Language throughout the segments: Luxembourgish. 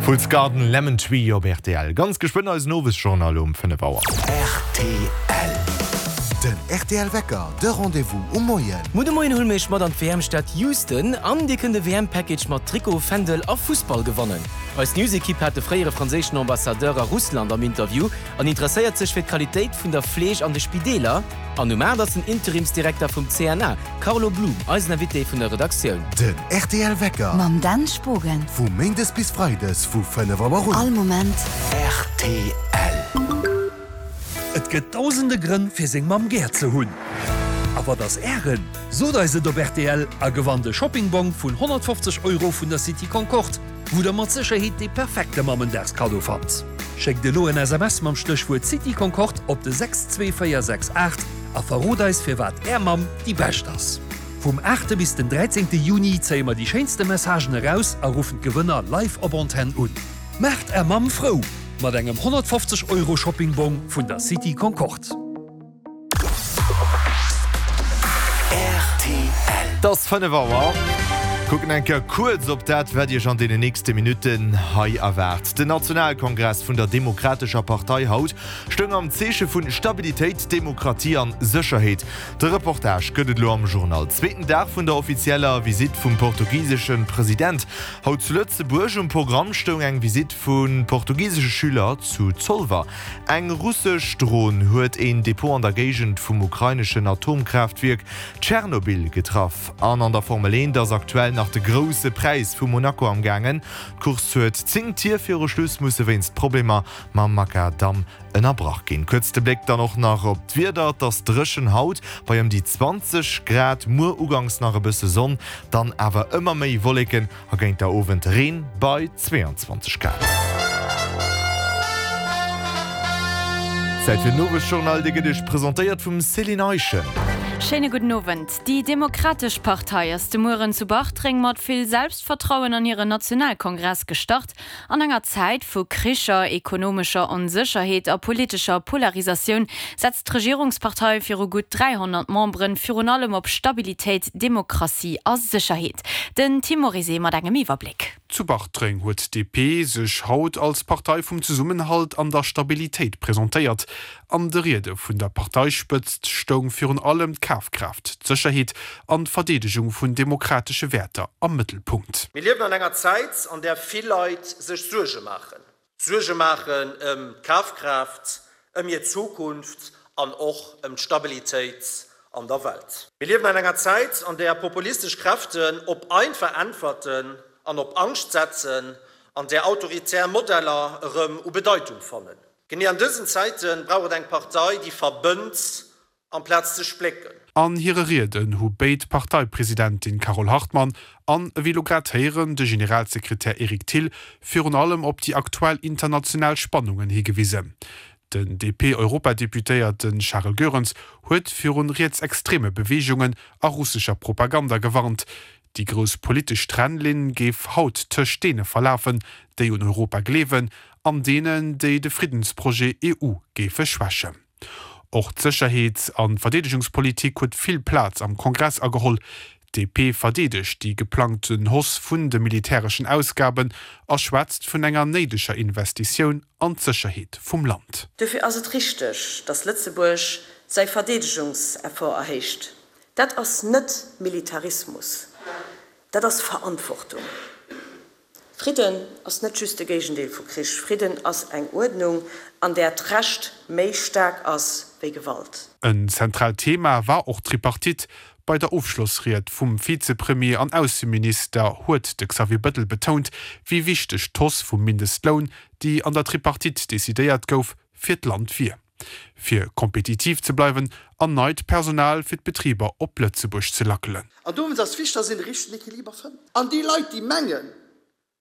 Fools Garden, Lemon Tree op rtl. Ganz geschwënn eisen Owesjournal um 5 Auer. Rtl. Den rtl Wecker, de Rendez-vous um Moien. Muer de Moien huele mir iech mat an d'WM-Stad Houston an dir kënnt e WM-Package mat Trikot, Fändel a Fussball gewannen. Eis News-Ekipp hat de fréiere franséischen Ambassadeur a Russland am Interview an interesséiert sech fir d'Qualitéit vun der Fleeg an de Spideeler. An um 8 ass den Interimsdirekter vum CNA, Carlo Blum, eisen Invité vun der Redaktioun. Den rtl Wecker. Mam Dan Spogen. Vu Méindes bis Freides vu 5 Auer un. All Moment. Rtl. Et gëtt dausende Grënn fir seng Mamm gär ze hunn. A wat ass ären? Sot eis et op rtl a gewannt e Shoppingbong vun 150 Euro vun der City Concorde, wou der mat Sécherheet dee perfekte Mammendagskaddo fannt. Schéckt elo en SMS mam Stéchwuert City Concorde op de 62468 a verrot eis firwat är Mamm déi bescht ass. Vum 8 bis den 13 Juni zéie mer déi schéinste Messagen eraus a ruffen d'Gewënner live op Antenn un. Maacht är Mamm frou mat engem 150 Euro Shoppingbong vun der City Concorde. Et ass 5 Auer. Kucken eng Kéier kuerz op dat, wat Iech an deenen nächste Minutten hei erwaart. Den Nationalkongress vun der Demokratescher Partei haut stoung am Zeeche vu Stabilitéit, Demokratie an Sécherheet. De Reportage gëtt et elo am Journal. Zweeten Dag vun der offizieller Visitt vum portugisesche President haut zu Lëtzebuerg. Um Programm stoung eng Visitt vu portugisesche Schüler zu Zolwer. Eng russesch Dron huet een Depot an der Géigend vum ukraineschen Atomkraaftwierk Tschernobyl getraff. An an der Formel 1 ass aktuell nach de Grousse Präis vu Monaco am gaangen. D'Course huet 10 Tier viru Schluss musse wéinst Problemer mam Makadamm ënnerbrach ginn. Kuerz de Bléck dann och nach op d'Wieder, Et ass dréchen haut bei ëm déi 20 Grad, muer uganks nach e bësse Sonn, dann awer ëmmer méi Wolleken a géint der Owend Reen bei 22 Grad. Zäit fir den Owesjournal, dee gëtt Iech presentéiert vum Céline Eischen. Schéine gudden Owend. Déi Demokratesch Partei ass de Mueren zu Bartreng mat vill Selbstvertrauen an hiren Nationalkongress gestart. An enger Zäit vu Kricher, ekonomescher Onsécherheet a politescher Polarisatioun setzt d'Regierungspartei viru gutt 300 Memberen virun allem op Stabilitéit, Demokratie a Sécherheet. Den Tim Morizet mat engem Iwwerbléck. Zu Bartreng huet d'DP sech haut als Partei vum Zesummenhalt an der Stabilitéit presentéiert. An de Riede vun der Parteispëtzt stoung virun allem d'Kafkraaft, d'Sécherheet an d'Verdeedegung vun demokratesche Wäerter am Mëttelpunkt. Mir liewen an enger Zäit, an där vill Leit sech Suerge maachen. Suerge maachen ëm d'Kafkraaft, ëm hir Zukunft an och ëm d'Stabilitéit an der Welt. Mir liewen an enger Zäit, an där populistesch Kräften op einfach Äntwerten an op Angscht setzen, an där autoritär Modeller erëm u Bedeitung fannen. Genee an dësen Zäite brauch et eng Partei, déi verbënnt amplaz ze splécken. An hire Rieden hu béid d'Parteipresidentin Carole Hartmann an, ewéi elo grad héieren, de Generalsekretär Eric Thill virun allem op déi aktuell international Spannungen higewisen. Den DP-Europadeputéierte Charel Goerens huet virun rietsextreme Beweegungen a russescher Propaganda gewarnt. Déi grouss politesch Trennlinn géif haut tëscht deene verlafen, déi un Europa gleewen, an deenen, déi de Friddensprojet EU géife schwächen. Och d'Sécherheets a Verdeedegungspolitik huet vill Plaz am Kongress ageholl. D'DP verdeedegt déi geplangten Hausse vun de militäreschen Ausgaben a schwätzt vun enger néideger Investitioun an d'Sécherheet vum Land. Dofir ass et richteg, datt Lëtzebuerg säi Verdeedegungseffort erhéicht. Dat ass net Militarismus, dat ass Verantwortung. Fridden ass net just de Géigendeel vu Krich. Fridden ass eng Uerdnung, an där d'Recht méi staark ass wéi Gewalt. En zentraalt Thema war och d'Tripartite. Bei der Ofschlossried vum Vizepremier an Ausseminister huet de Xavier Bettel betount, wéi wichteg d'Hausse vum Mindestloun, déi an der Tripartite decidéiert gouf, fir d'Land wier. Fir kompetitiv ze bleiwen an neit Personal fir d'Betriber op Lëtzebuerg ze lackelen. An dowéinst ass wichteg, dass een de richtegen Equiliber fënnt. An déi Leit, déi mengen,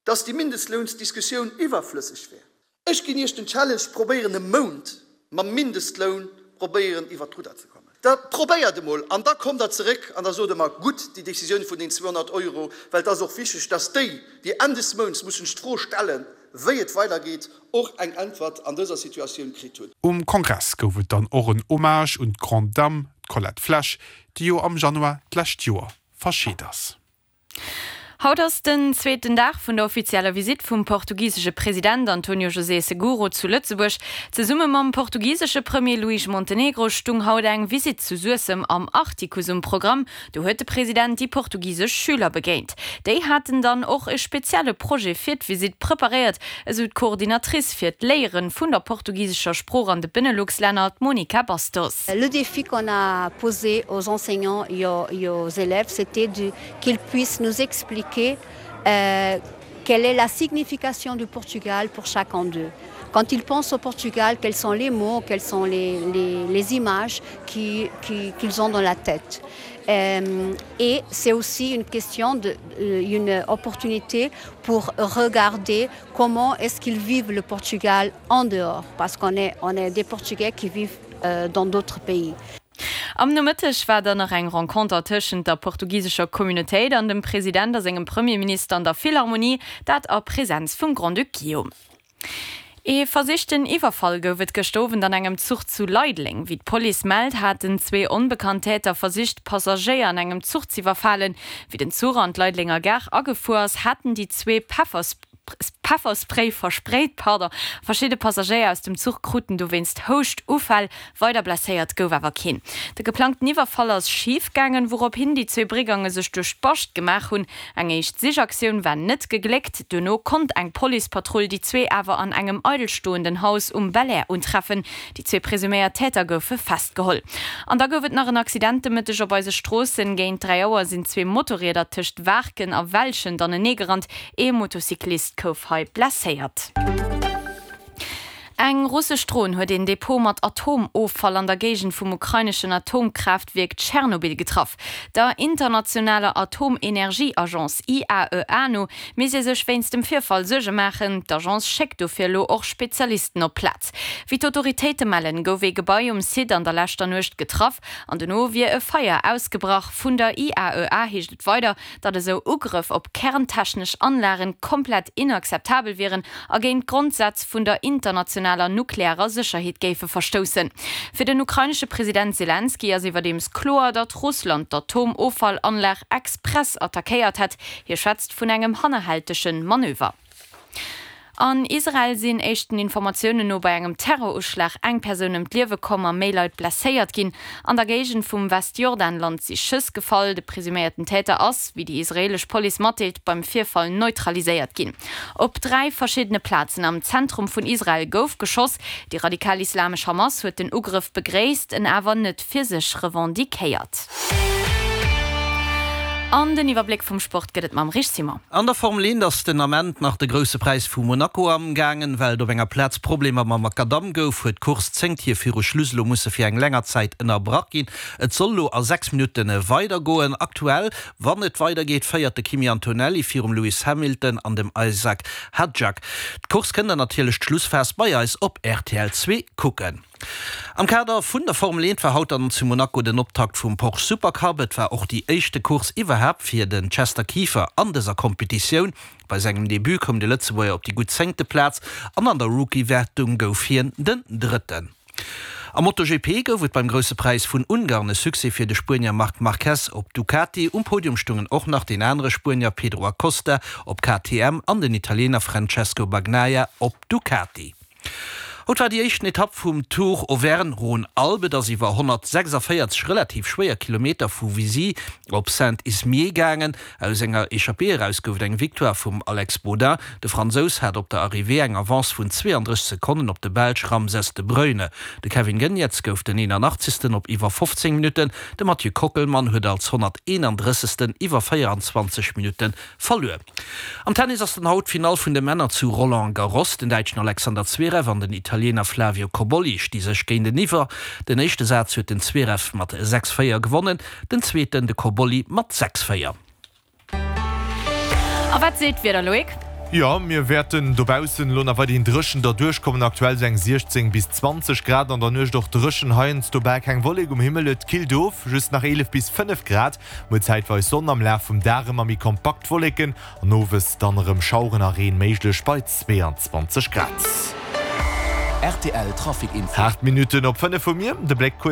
dass déi Mindestlounsdiskussioun iwwerflësseg wär, ech ginn Iech den Challenge, probéieren e Mount mam Mindestloun probéieren iwwert d'Rudder ze kommen. Da probéiert emol an da kommt Der zeréck an da sot Der mer, gutt, déi Décisioun vun den 200 Euro, well et ass och wichteg, dass déi, déi Enn des Mounts mussen sech d'Fro stellen, wéi et weidergeet, och eng Äntwert an dëser Situatioun kritt hunn. Um Kongress gouf et dann och en Hommage un d'Grande Dame, d'Colette Flesch, déi jo am Januar d'lescht Joer verscheet ass. Haut ass den zweeten Dag vun der offizieller Visitt vum portugisesche President Antonio José Seguro zu Lëtzebuerg. Zesumme mam portugisesche Premier Luís Montenegro stung haut eng Visitt zu Suessem am Artikuss um Programm. Do huet de President déi portugisesch Schüler begéint. Déi haten dann och e spezielle Projet fir d'Visitt preparéiert, esou d'Coordinatrice fir d'Léiere vun der portugisescher Sprooch an de Benelux-Länner, d'Monica Bastos. Le défi qu'on a posé aux enseignants et aux élèves, c'était de qu'ils puissent nous expliquer euh, quelle est la signification du Portugal pour chacun d'eux. Quand ils pensent au Portugal, quels sont les mots, quelles sont les, les, les images qu'ils qui, qui ont dans la tête. Euh, et c'est aussi une question de, euh, une opportunité pour regarder comment est-ce qu'ils vivent le Portugal en dehors parce qu'on est, on est des Portugais qui vivent euh, dans d'autres pays. Am Nomëtteg war dann nach eng Renconter tëschent der portugisescher Communautéit an dem President a sengem Premierminister an der Philharmonie, dat a Presenz vum Grand-Duc Guillaume. Ee versichten Iwwerfall gouf et gëscht Owend an engem Zuch zu Leideleng. Wéi d'Police mellt, haten zwee onbekannt Täter versicht, Passagéier an engem Zuch z'iwwerfalen. Wéi den Zuch an d'Leidelenger Gare agefuer ass, haten déi zwee Pefferspray versprayt. Pardon. Verschidde Passagéier aus dem Zuch kruten dowéinst Houschtuffäll. Weider blesséiert gouf awer keen. De geplangten Iwwerfall ass schif gaangen, wourop hin déi zwee Brigange sech duerch d'Bascht gemaach hunn. Eng éischt Sichaktioun war net gegléckt. Duerno konnt eng Policepatrull déi zwee awer an engem eidelstoenden Haus um Belair untreffen. Déi zwee presuméiert Täter goufe festgeholl. An da gouf et nach en Accident de Mëtteg op eise Stroossen. Géint 3 Auer sinn zwee Motorrieder tëscht Waarken a Welschent aneneegerannt. Ee Motocyclist gouf hei blesséiert. Eng russesch Dron huet een Depot mat Atomoffall an der Géigend vum ukraineschen Atomkraaftwierk Tschernobyl getraff. Der internationaler Atomenergieagence IAEA no misst ee sech wéinst dem Virfall Suerge maachen. D'Agence schéckt dofir elo och Spezialisten op d'Plaz. Wéi d'Autoritéite mellen, gouf ee Gebai um Site an der leschter Nuecht getraff an dono wier e Feier ausgebrach. Vun der IAEA heescht et weider, datt esou Ugrëff op kerntechnesch Anlagen komplett inakzeptabel wieren a géint d'Grondsätz vun der internationaler nuklearer Sécherheet géife verstoussen. Fir den ukrainesche President Selenskyj ass iwwerdeems kloer, datt Russland d'Atomoffallanlag express attackéiert hätt. Hie schwätzt vun engem hannerhältege Manöver. An Israel sinn éischten Informatiounen no bei engem Terroruschlag eng Persoun ëm d'Liewe komm a méi Leit blesséiert ginn. An der Géigend vum Westjordanland si Schëss gefall. De presuméierten Täter ass, wéi déi israeelesch Police matdeelt, beim Virfall neutraliséiert ginn. Op 3 verschiddene Plazen am Zentrum vun Israel gouf geschoss. Déi radikal-islamesch Hamas huet den Ugrëff begréisst, en awer net fir sech revendiquéiert. An den Iwwerbléck vum Sport gëtt et mam Rich Simon. An der Formel 1 ass den Ament nach de Grousse Präis vu Monaco amgaangen. Well et op enger Plaz Problemer mam Makadamm gouf, huet d'Course 10 Tier viru Schluss elo musse fir eng länger Zäit ënnerbrach ginn. Et soll elo a 6 Minutte weidergoen. Aktuell, wann et weidergeet, féiert de Kimi Antonelli virum Lewis Hamilton an dem Isack Hadjak. D'Course kënnt der natierlech d'Schlussphas bei eis op rtl 2 kucken. Am Kader vun der Formel 1 war haut dann zu Monaco den Optakt vum Porsche Supercup. Et war och déi éischte Course iwwerhaapt fir den Chester Kieffer an dëser Kompetitioun. Bei sengem Debut koum de Lëtzebuerger op déi gutt zéngte Plaz an an der Rookie-Wertung gouf hien den Drëtten. Am MotoGP gouf et beim Grousse Präis vun Ungarn e Succès fir de Spuenier Marc Marquez op Ducati. Um Podium stungen och nach deen anere Spuenier Pedro Acosta op KTM an den Italiener Francesco Bagnaia op Ducati. Haut war déi éischten Etapp vum Tour Auvergne-Rhône-Alpes. Et ass iwwer 146 relativ schwéier Kilometer vu Vizille op Saint-Ismier gaangen. Aus enger Echappée eraus gouf et eng Victoire vum Alex Baudin. De Fransous hat op der Arrivée eng Avance vun 32 Sekonnen op de Belsch Ramses de Bruyne. De Kevin Geniets gouf den 81. op iwwer 15 Minutten. De Mathieu Kockelmann huet als 131. iwwer 24 Minutte verluer. Am Tennis ass dann haut d'Finall vun de Männer zu Roland Garros. Den Däitschen Alexander Zverev an den Italiener Flavio Cobolli sti sech géinteniwwer. Den éischte Saz huet den Zverev mat 6, 4 gewonnen, den zweeten de Cobolli mat 6, 4. A wat seet d'Wieder, Loïc? Jo, mir wäerten dobaussen elo nach weiderhin dréchen derduerch kommen. Aktuell sou eng 16 bis 20 Grad, an der Nuecht och dréchen, heiansdo bal keng Wollek um Himmel. Et killt of, just nach 11 bis 5 Grad. Muer zäitweis Sonn, am Laf vum Dag ëmmer méi kompakt Wolleken an owes dann erëm Schaueren a Reen méiglech bei 22 Grad. Rtl Trafic Info. 8 Minutten op 5 hu mir de Bléck kuerz.